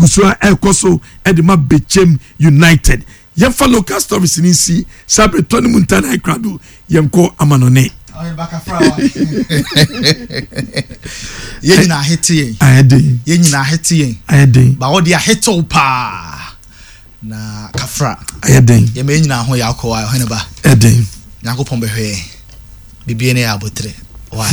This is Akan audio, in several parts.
Gu so a ɛrekɔ so de ma Bechem United. Yɛmfa local stories no nsi saa bere tɔ ne mu nta na krado yɛnkɔ amanɔne. Yɛn nyinaa ahete yɛn. Ayɛ den. Yɛn nyinaa ahete yɛn. Ayɛ den. Ba wɔde ahetew paa na kafra. Ayɛ den. Yɛn mɛ nyinaa ho yɛ akɔ wa ɔhene ba. Ɛden. Nyankopɔn bɛhwɛ yɛn. Bibie ne yɛ abotere. Why?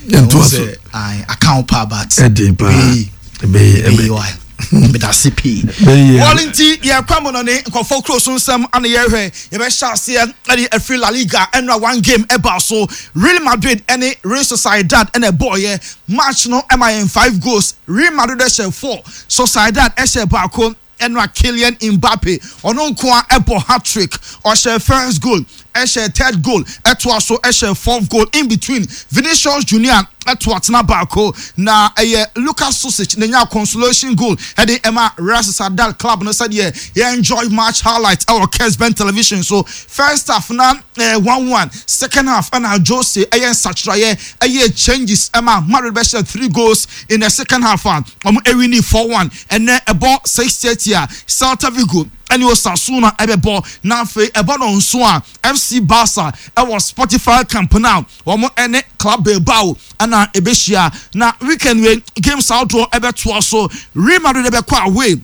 Yɛntoa so. Aka wo paa but. Ɛden paa. Ɛbɛyi. Ɛbɛyi why? Medase pii. Wɔn nti yɛkɔ amanɔne nkɔfɔ kuro so nsɛm ana yɛhwɛ yɛbɛhyɛ aseɛ ɛde afiri La Liga ɛnora one game ɛbaa so Real Madrid ɛne Real Sociedad ɛna ɛbɔɔyɛ match no ɛma yɛn five goals. Real Madrid ɛhyɛ four, Sociedad ɛhyɛ baako. Ɛnora Kylian Mbappe ɔno nko ara ɛbɔ hat-trick, ɔhyɛ first goal, ɛhyɛ third goal, ɛtoa so ɛhyɛ fourth goal. In between, Vinicius Junior ɛto atena baako, na ɛyɛ Luka Sucic na enya consolation goal ɛde ɛma Real Sociedad club no. Sɛdeɛ yɛ enjoy match highlight ɛwɔ Kesben Television so. First half na ɛyɛ 1-1, second half ɛna Jose ɛyɛ nsakyeraeɛ, ɛyɛ changes ɛma Madrid bɛhyɛ three goals in the second half a wɔn ɛwini 4-1. Ɛnɛ ɛbɔ 6:30 a, Celta Vigo ɛne Osasuna ɛbɛbɔ, na afei ɛbɔ no nso a, FC Barca ɛwɔ Spotify Camp Nou, wɔn ɛne Club Bilbao ɛna ɛbɛhyia. Na weekend wei games ahodoɔ ɛbɛtoa so. Real Madrid ɛbɛkɔ away,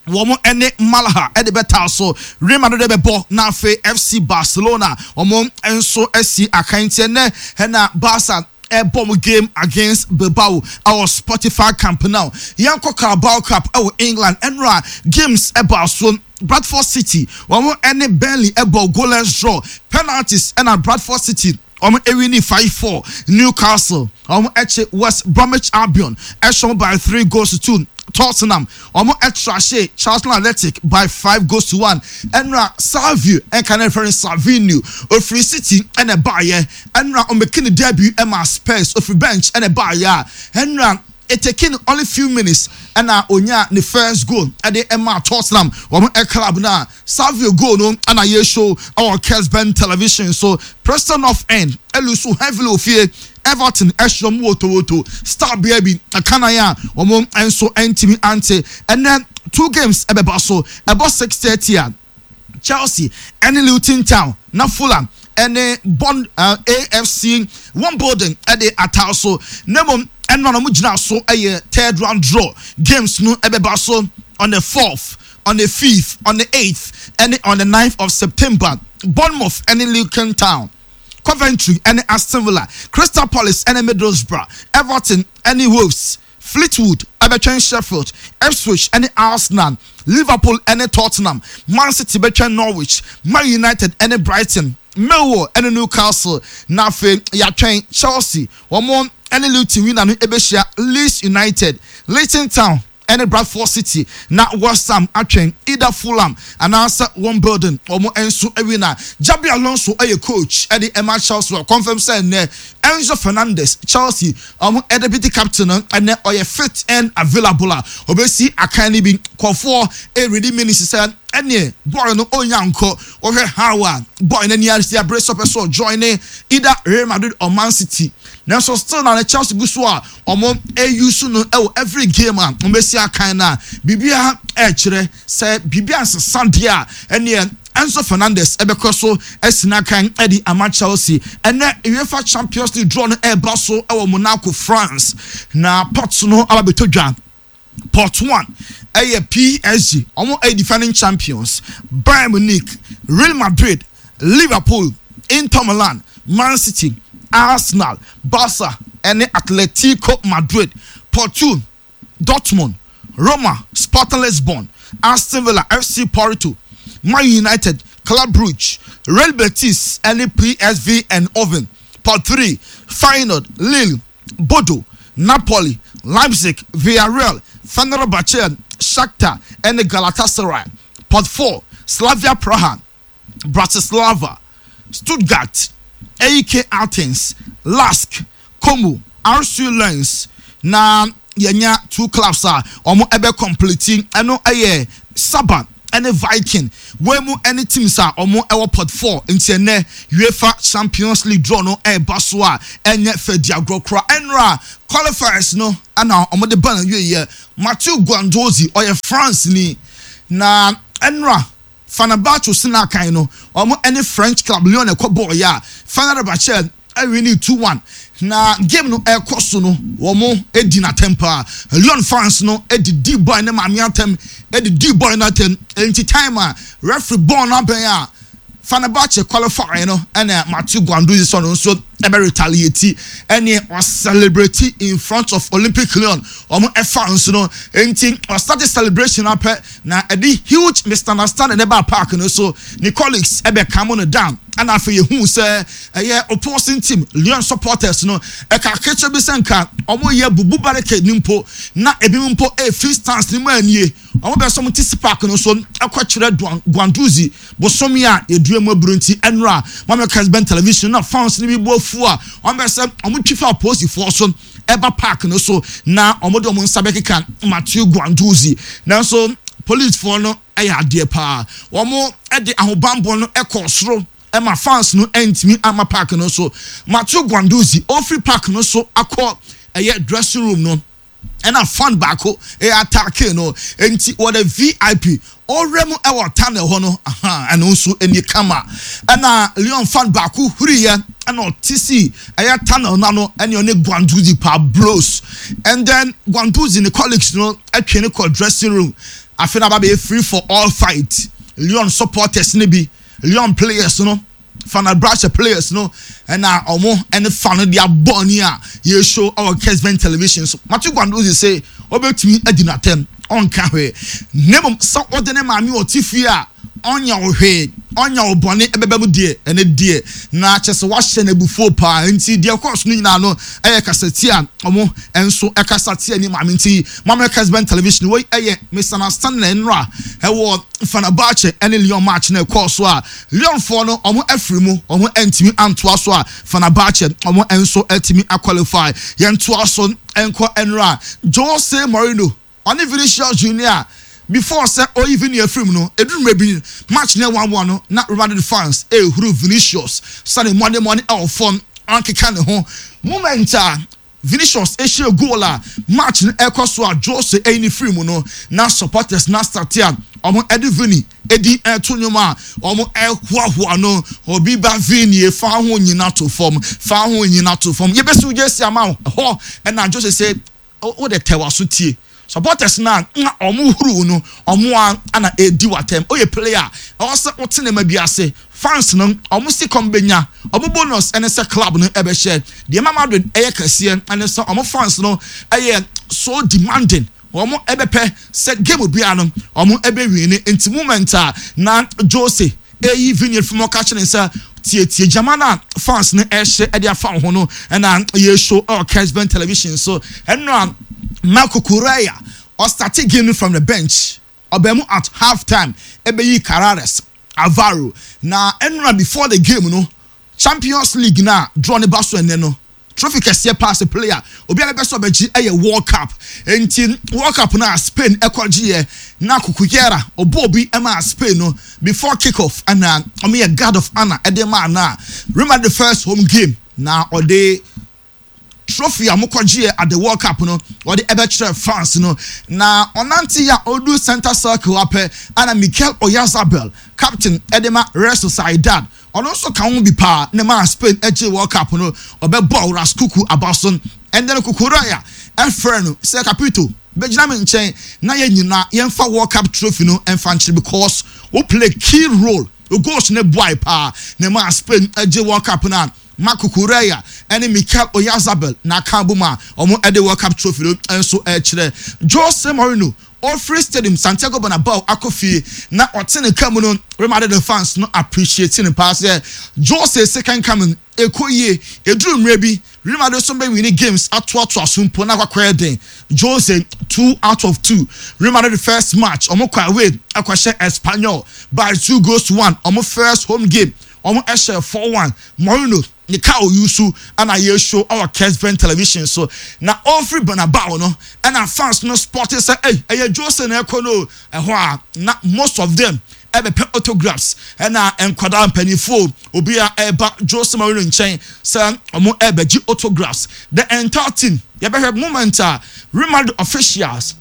wɔn ɛne Malaga ɛde bɛtaa so. Real Madrid ɛbɛbɔ, na afei FC Barcelona wɔn nso asi akan. Nti ɛnɛ ɛna Barca ɛbɔ mo game against Bilbao ɛwɔ Spotify Camp Nou. Yɛnkɔ Carabao Cup ɛwɔ England. Ɛnora games ɛbaa so. Bradford City wɔn ɛne Burnley ɛbɔ goalless draw, penalties ɛna Bradford City wɔn ɛwini 5-4. Newcastle wɔn ɛkye West Bromwich Albion ɛhyɛ by 3 goals to 2. Tottenham wɔn ɛtrashe Charlton Athletic by 5 goals to 1. Ɛnora Savio ɛnka ne referring Savinho ofiri City ɛna ɛbaayɛ, ɛnora ɔmɛki ne debut ɛma Spurs, ofiri bench ɛna ɛbaayɛ a ɛnora it taking only few minutes ɛna onya ne first goal ɛde ɛma Tottenham wɔn ɛ club. Na Savio goal no ɛna yɛ show ɛwɔ Kesben Television so. Preston North End ɛlose heavily ofie, Everton ɛhyɛ wɔn wotowoto star bea bi ɛkanan a wɔn nso ɛntumi ante. Ɛnɛ two games ɛbɛba so. Ɛbɔ 6:30 a, Chelsea ɛne Luton Town, na Fulham ɛne Bond AFC Wimbledon ɛde ataa so. Na mmom ɛno na wɔn gyina so ɛyɛ third round draw games no ɛbɛba so on the 4th, on the 5th, on the 8th ɛne on the 9th of September. Bournemouth ɛne Luton Town, Coventry ɛne Aston Villa, Crystal Palace ɛne Middlesbrough, Everton ɛne Wolves, Fleetwood ɛbɛtwɛn Sheffield, Ipswich ɛne Arsenal, Liverpool ɛne Tottenham, Man City bɛtwɛn Norwich, Man United ɛne Brighton, Millwall ɛne Newcastle, na afei yɛatwɛn Chelsea wɔn ɛne Luton winner no ɛbɛhyia Leeds United, Luton Town ɛne Bradford City, na West Ham atwɛn either Fulham anaasɛ Wimbledon wɔn nso winner. Xabi Alonso ɛyɛ coach ɛde ɛma Chelsea, wɔ confirm sɛ ɛnɛ Enzo Fernandez, Chelsea wɔn deputy captain no, ɛnɛ ɔyɛ fit and available a ɔbɛsi akan no bi. Kɔfoɔ ɛredi minutes sɛ ɛneɛ boy no ɔnya nkɔ wɔhwɛ how a boy n'ani ase abere sɛ ɔpɛ sɛ ɔjoin ne either Real Madrid or Man City, nanso still na ne Chelsea gu so a wɔn ɛuse no ɛwɔ every game a wɔn bɛsi akan, na biribiara ɛrekyerɛ sɛ biribiara nsesa deɛ a, ɛneɛ Enzo Fernandez ɛbɛkɔ so ɛsi n'akan ɛde ama Chelsea. Ɛnɛ UEFA Champions League draw no ɛreba so ɛwɔ Monaco, France, na pot no aba bɛtɔ dwa. Pot one ɛyɛ PSG, wɔn ɛyɛ defending champions, Bayern Munich, Real Madrid, Liverpool, Inter Milan, Man City, Arsenal, Barca ɛne Atletico Madrid. Pot two, Dortmund, Roma, Sporting Lisbon, Aston Villa, FC Porto, Man United, Club Brugge, Real Betis ɛne PSV Eindhoven. Pot three, Feyenoord, Lille, Bodo, Napoli, Leipzig, Villarreal, Fenerbahce, Shakhtar ɛne Galatasaray. Pot four, Slavia Praha, Bratislava, Stuttgart, AEK Athens, Lask, Como, RC Lens. Na yɛnya two clubs a wɔn ɛbɛ complete, ɛno ɛyɛ Saba. Ɛne Viking. Wei mu ɛne teams a wɔn ɛwɔ pot 4. Nti ɛnɛ UEFA Champions League draw no ɛreba so a ɛnyɛ fɛ di agorɔ kora. Ɛnora qualifiers no ɛna wɔn de ba na wie yɛ. Mathieu Guendouzi, ɔyɛ France ni, na ɛnora Fenerbahce sinakan no, wɔn ɛne French club Lyon ɛkɔ bɔɔl yɛ a Fenerbahce ɛwin 2-1. Na game no ɛkɔ so no, wɔn edi n'atɛm paa. Lyon fans no edi di boy ne maame atɛm, edi di boy n'atɛm. Nti time a referee bɔɔl no abɛn a Fenerbahce qualify no, ɛna Mathieu Guendouzi sɔ no nso ɛbɛ retaliate, ɛne ɔcelebrate in front of Olympic Lyon wɔn fans no. Nti ɔstart celebration apɛ na ɛde huge misunderstanding ɛba park no so. Ne colleagues ɛbɛ calm no down, ɛna afei yehu sɛ ɛyɛ opposing team Lyon supporters no ɛka akekyɛ bi sɛ nka wɔn yɛ bubu barricade ni mpo, na ebi mpo efi stands ne mu anie wɔn bɛ sɛ wɔn ti si park no so ɛkɔ kyerɛ Guendouzi bosomi a yɛdua mu aburo. Nti ɛnora wɔn Kesben Television na fans no bi bu afu a wɔn bɛ sɛ wɔn twi fa apolisifoɔ so ɛba park no so na wɔn de wɔn nsa bɛkeka Mathieu Guendouzi. Nanso policefoɔ no ɛyɛ adeɛ paa, wɔn de ahobanbɔ no ɛkɔ soro ɛma fans no ɛntumi ama park no so. Mathieu Guendouzi ofiri park no so akɔ ɛyɛ dressing room no, ɛna fan baako ɛyɛ attack no. Nti wɔde VIP ɔwura mu ɛwɔ tunnel hɔ no, ɛno nso ɛni kama. Ɛna Lyon fan baako huriyɛ ɛna ɔte si ɛyɛ tunnel n'ano, ɛne ɔne Guendouzi pa blows, and then Guendouzi ne colleagues no ɛtwe ne kɔ dressing room. Afei na aba bɛyɛ free for all fight. Lyon supporters ne bi, Lyon players no, Fenerbahce players no, ɛna ɔmo ɛne fa no de abɔ ni a yɛshow ɛwɔ Kesben Television so. Matthew Guendouzi sɛ ɔbɛtumi adi n'atɛm, ɔnka hwee, na mmom sɛ ɔde ne maame ɔte fie a ɔnya wo hwee, ɔnya wo bɔne ɛbɛba mu deɛ, ɛne deɛ na kyɛ sɛ wahyɛ n'abufuo paa. Nti deɛ kɔɔ so no nyinaa no ɛyɛ kasatia a ɔmo nso ɛkasa tia ne maame. Nti maame Kesben Television wei ɛyɛ misunderstanding nnora ɛwɔ Fenerbahce ɛne Lyon match na ɛkɔɔ so a Lyonfoɔ no ɔmo afiri mu, ɔmo ntumi antoa so a Fenerbahce ɔmo nso atumi aqualify. Yɛntoa so nkɔ nnora Jose Mourinho ɔne Vinicius Junior. Before sɛ ɔyi Vini afiri mu no, eduru mmerɛ bi match ne 1-1 no, na Real Madrid fans ehuru Vinicius sani mmɔdemmɔde ɛwɔ fam, ɔnkeka ne ho. Moment a Vinicius ehyia goal a match no ɛkɔ so a Jose ɛyi ne firi mu no, na supporters na start a ɔmo ɛde Vini edi ɛto nnwom a ɔmo ɛhoahoa no, obi ba Vini, fa ho nyina to fam, fa ho nyina to fam, yɛbɛsi wo jersey ama wo hɔ. Ɛna Jose sɛ wo de tɛwa so tie supporters na na ɔmo huru no, ɔmo a ana edi watɛm. Oyɛ player, ɛwɔ sɛ wote ne ma bi ase. Fans no ɔmo si kɔm benya ɔmo bonus, ɛne sɛ club no ɛbɛhyɛ deɛ ma Madrid ɛyɛ kɛseɛ, ɛne sɛ ɔmo fans no ɛyɛ so demanding, ɔmo ɛbɛpɛ sɛ game biara no ɔmo ɛbɛwin ne. Nti moment a na Jose eyi Vini fim, ɔka kyerɛ sɛ tietie gyama na fans no ɛhyɛ ɛde afa ho no, ɛna yɛshow ɛwɔ Kesben Television so. Ɛno a Marc Cucurella ɔstart game from the bench, ɔbɛn mu at half time ɛbɛyi Carreras Alvaro. Na ɛnora before the game no, Champions League na draw ne ba so ɛnɛ no, trophy kɛseɛ pass player obiara bɛ sɛ ɔbɛgye ɛyɛ World Cup. Nti World Cup na Spain ɛkɔgye yɛ na Cucurella ɔbɔ obi ɛma Spain no before kick off, ɛna ɔmo yɛ guard of honour ɛde maa na Real Madrid first home game na ɔde trophy a mokɔgyeɛ at the World Cup no wɔde ɛbɛkyerɛ fans no. Na ɔnante a ɔdu center circle apɛ, ɛna Mikel Oyarzabal, captain ɛde ma Real Sociedad, ɔno nso ka ho bi paa ne maa Spain ɛgye World Cup no, ɔbɛbɔ Ras Kuku aba so. Ɛnɛ no Cucurella ɛfrɛ no sɛ, "Capito, bɛgyina me nkyɛn na yɛn nyinaa yɛmfa World Cup trophy no ɛmfa nkyerɛ, because wo play key role, o goals ne boy paa na maa Spain ɛgye World Cup no." A Marc Cucurella ɛne Mikel Oyarzabal na aka bom a wɔn ɛde World Cup trophy no nso ɛkyerɛ. Jose Mourinho ofiri stadium Santiago Bernabeu akɔ fie na ɔte ne ka mu no, Real Madrid fans no appreciate ne paa sɛ Jose second coming ɛkɔ yie. Eduru mmerɛ bi Real Madrid nso bɛ win games atoatoa so mpo na akɔkɔyɛ den. Jose 2 out of 2. Real Madrid first match, wɔn kɔ away ɛkɔhyɛ Espanyol by 2 goals to 1. Wɔn first home game, wɔn ɛhyɛ 4-1. Mourinho Ne car ɔuse ɛna yɛshow ɛwɔ Kesben Television so. Na ɔfiri Bernabeu no ɛna fans no spot sɛ ei, ɛyɛ Jose na ɛkɔ no o. Ɛhɔ a na most of them ɛbɛpɛ autographs, ɛna nkwadaa, mpanyinfoɔ, obi a ɛba Jose Mourinho nkyɛn sɛ ɔmo ɛbɛgye autographs. The entire team, yɛbɛhwɛ moment a Real Madrid officials,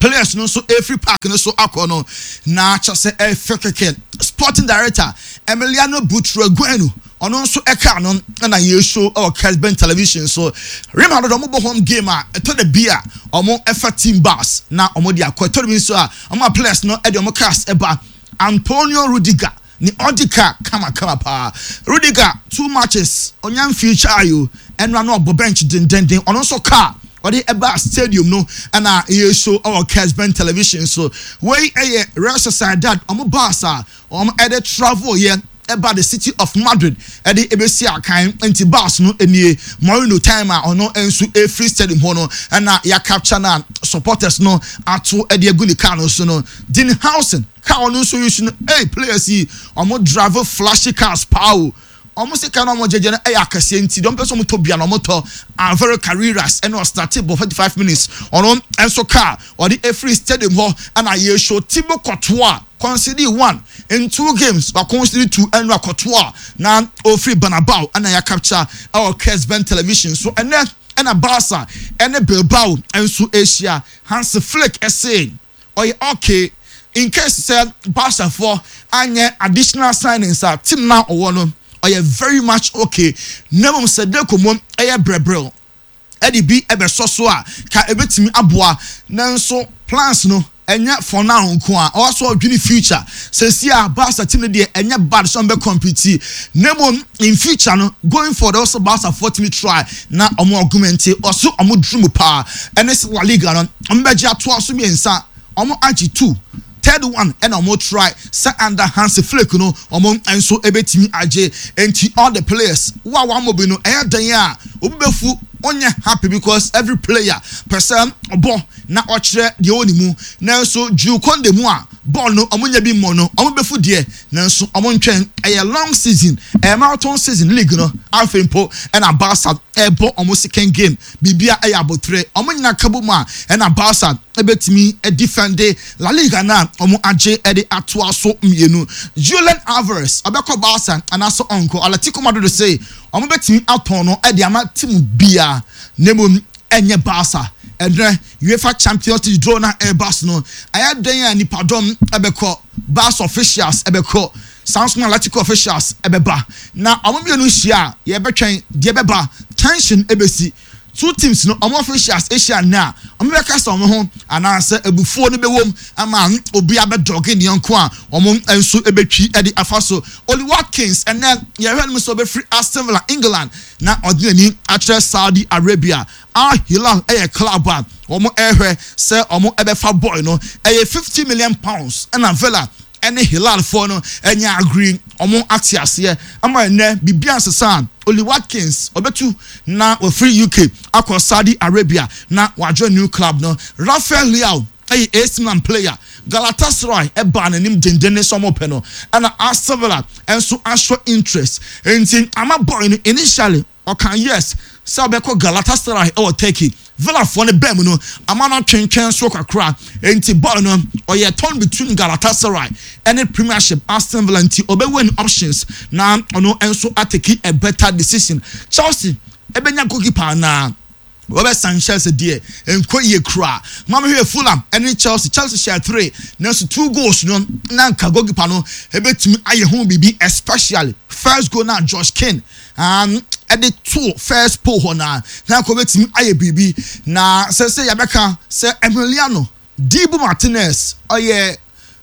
players no nso efiri park no so akɔ no na kyɛ sɛ ɛfɛ kɛkɛ. Sporting director Emiliano Butragueno, ɔno nso ɛka no ɛna yɛshow ɛwɔ Kesben Television so. Real Madrid, ɔmo bɔ home game a, ɛtɔ da bi a ɔmo ɛfa team bus na ɔmo de akɔ. Ɛtɔ da bi nso a ɔmo a players no ɛde ɔmo cars ɛba. Antonio Rudiger ne ɔdi car kamakama paa. Rudiger, two matches ɔnya future ayo, ɛnura no ɔbɔ bench dendenden. Ɔno nso car ɔde ɛba stadium no ɛna yɛshow ɛwɔ Kesben Television so. Wei ɛyɛ Real Sociedad ɔmo bus a ɔmo ɛde travel yɛ ɛba the city of Madrid ɛde ebesi akan. Nti bus no nie. Mourinho time a ɔno nso efiri stadium hɔ no ɛna yɛacapture na supporters no ato ɛde egu ne car no so no. Dean Huijsen car ɔno nso yi so no. Ɛy, players yi, ɔmo drive flashy cars paa o. Ɔmo sika na ɔmo gyegye no ɛyɛ akɛseɛ, nti deɛ ɔmo pɛ sɛ ɔmo tɔ bia na ɔmo tɔ. Alvaro Carreras ɛna ɔstart bɔ 45 minutes, ɔno nso car ɔde efiri stadium hɔ ɛna yɛshow. Thibaut Courtois concede one in two games, wa concede two. Ɛna Courtois na ofiri Bernabeu ɛna yɛ capture ɛwɔ Kesben Television so. Ɛnɛ ɛna Barca ɛne Bilbao nso ahyia. Hans Flick ɛsɛ ɔyɛ okay in case sɛ Barca foɔ anyɛ additional signings a, team na ɔwɔ no ɔyɛ very much okay. Na mmom sɛ Deco mu ɛyɛ brɛbrɛw ɛde bi ɛbɛsɔ so a, ka ebetumi aboa. Nanso plans no ɛnyɛ for now nko a, ɔwɔ so ɔdwene future. Sɛsi a Barca team no deɛ, ɛnyɛ bad sɛ ɔmo bɛ compete, na mmom in future no, going forward, ɔsɛ Barca foɔ tumi try na ɔmo augment. Ɔso ɔmo duru mu paa ɛne sɛ La Liga no, ɔmo bɛgye atoa so mmiɛnsa. Ɔmo agye two, third one ɛna ɔmo try sɛ under Hansi Flick no, ɔmo nso ebetumi agye. Nti all the players wo a wɔn bi no, ɛyɛ dan a obi bɛfu ɔnyɛ happy because every player pɛ sɛ ɔbɔ na ɔkyerɛ deɛ ɔwɔ ne mu. Nanso Jules Kounde mu a bɔɔl no ɔmo nya bi mmɔ no, ɔmo bɛfu deɛ, nanso ɔmo ntwɛn. Ɛyɛ long season, ɛyɛ marathon season. League no afei mpo ɛna Barca ɛbɔ ɔmo second game. Biribia ɛyɛ abotire, ɔmo nyinaa kabo mu a ɛna Barca ɛbɛtumi ɛdefend La Liga na ɔmo agye ɛde atoa so mmienu. Julian Alvarez, ɔbɛkɔ Barca anaasɛ ɔnkɔ? Atletico Madrid sɛ ɔmo bɛtumi atɔn no ɛde ama team bia, na mmom ɛnyɛ Barca. Ɛnɛ UEFA Champions League draw na ɛreba so no, ɛyɛ den a nipadɔm ɛbɛkɔ. Barca officials ɛbɛkɔ, Samson Atletico officials ɛbɛba na ɔmo mmienu hyia a, yɛbɛtwɛn deɛ ɛbɛba. Tension ɛbɛsi two teams no, ɔmo officials ahyia nna a ɔmo bɛka sɛ ɔmo ho anaasɛ ebufuo no bɛwɔ ama obi abɛdɔge ne yɔnko a ɔmo nso ɛbɛtwi ɛde afa so. Oli Watkins, ɛnɛ yɛhwɛ no sɛ ɔbɛfiri Aston Villa, England, na ɔde n'ani akyerɛ Saudi Arabia. Al Hilal ɛyɛ club a wɔn ɛrehwɛ sɛ wɔn ɛbɛfa boy no. Ɛyɛ £50 million ɛna Villa ɛne Hilal foɔ no ɛnyɛ agree, wɔn ate aseɛ ama ɛnɛ biribi asesa. Oli Watkins ɔbɛtu na wɔfiri UK akɔ Saudi Arabia na wadwo new club no. Rafael Leao ɛyɛ AC Milan player. Galatasaray ɛbaa n'anim dendenne sɛ ɔmo pɛ no, ɛna Aston Villa ɛnso ahyɛ interest. Nti ama boy no initially ɔka yes sɛ ɔbɛkɔ Galatasaray ɛwɔ Turkey. Villafoɔ no bɛn mu no ama no atwentwɛn so kakra. Nti boy no ɔyɛ torn between Galatasaray ɛne Premiership Aston Villa, nti ɔbɛwɔ ne options na ɔno nso atake a better decision. Chelsea ɛbɛnya goalkeeper anaa Robert Sanchez deɛ, nkɔ yie kura. Maame, hwɛ Fulham ɛne Chelsea. Chelsea hyɛ three, nanso two goals no na nka goalkeeper no ebetumi ayɛ ho biribi, especially first goal na Josh King ɛde to first pole hɔ na nka obetumi ayɛ biribi. Na sɛ yɛbɛka sɛ Emiliano Dibu Martinez, ɔyɛ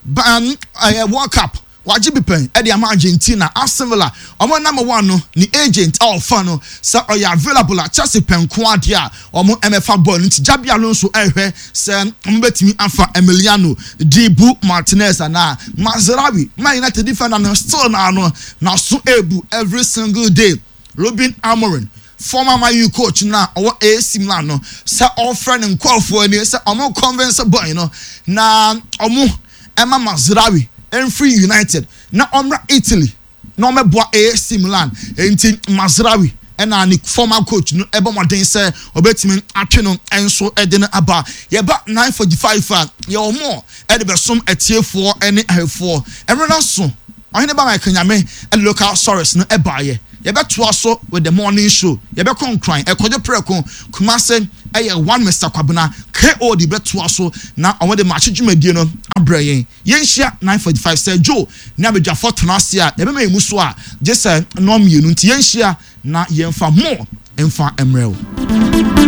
ban, ɛyɛ World Cup wagye bi pɛn ɛde ama Argentina. Aston Villa ɔmo number one no, ne agent a ɔfa no sɛ ɔyɛ available a, Chelsea pɛn ko adeɛ a ɔmo ɛmɛfa bɔɔl no. Nti Xabi Alonso ɛhwɛ sɛ ɔmo bɛtumi afa Emiliano Dibu Martinez anaa Mazraoui. Man United defender no still na ano na so ebu every single day. Ruben Amorim, former Man U coach na ɔwɔ AC Milan no, sɛ ɔfrɛ ne nkɔɔfoɔ ani sɛ ɔmo convince boy no na ɔmo ɛma Mazraoui ɛnfiri United na ɔmmra Italy. na ɔmɛboa AC Milan. Nti Mazraoui ɛna ne former coach no ɛbɔ mmɔden sɛ ɔbɛtumi atwe no nso ɛde no aba. Yɛba 9:45 a, yɛwɔ mɔ ɛde bɛsom atiefoɔ ɛne ahwɛfoɔ. Ɛmmerɛ no so, ɔhene ba Michael Nyame ɛde local stories no ɛbaayɛ. Yɛbɛtoa so with the morning show. Yɛbɛkɔ Nkran, ɛkɔdwo prɛko Kumase, ɛyɛ one Mr Kwabena ko de bɛtoa so na ɔmo de maakye dwumadie no abrɛ yɛn. Yɛnhyia 9:45 sɛ Joe ne abadwafoɔ tena ase a, yɛbɛma yɛn mu so a gye sɛ nnɔn 2, nti yɛnhyia na yɛmfa mo mfa mmerɛ wo.